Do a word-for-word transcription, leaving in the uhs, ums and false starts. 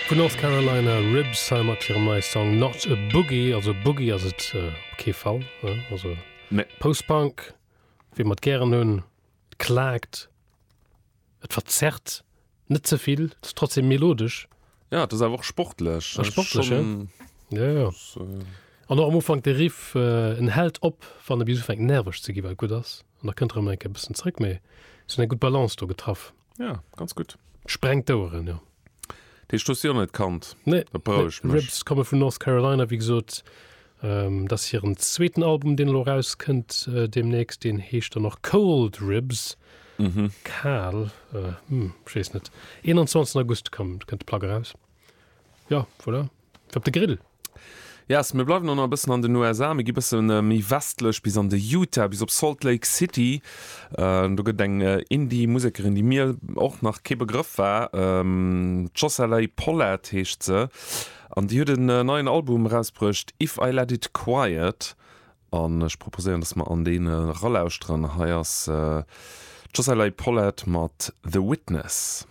Vun North Carolina Ribs hei mat hirem neie Song Not a Boogie. Also Boogie ass et op kee Fall, ne? Also Nee. Post-Punk, wéi mer et gären hunn, et klaakt, et verzerrt net ze vill, et ass trotzdem melodesch. Ja, et ass awer och sportlech. A sportlech, ja. Ja, ja. An och am Ufank de Riff, en hält op, wann e bis ufänkt nerveg ze ginn, wat gutt ass. An da kënnt erëm eng Kéier e bëssen zréck, mee se hunn eng gutt Balance do getraff. Ja, ganz gutt. Sprengt d'Oueren, jo. Dat heescht, du hues si och net kannt? Nee, Dat berouegt mech. Ribs komme vun North Carolina, wéi gesot. Dat ass hiren zweeten Album, deen elo erauskënnt deemnächst. Deen heescht dann och Cold Ribs, kal, hm, ech weess net. eenanzwanzegsten August kënnt d'Plack eraus. Jo, voilà, fir op de Grill. Yes, mir bleiwen och nach e bëssen an den U S A, mir gi bësse méi westlech bis an de Utah, bis op Salt Lake City. Do gëtt eng Indie-Musekerin, déi mir och nach kee Begrëff war, d'Jocelay Pollard heescht se, an déi huet en neien Album erausbruecht, If I Let It Quiet, an ech proposéieren, dass mer an deen eralauschteren. Hei ass d'Jocelay Pollard mat The Witness.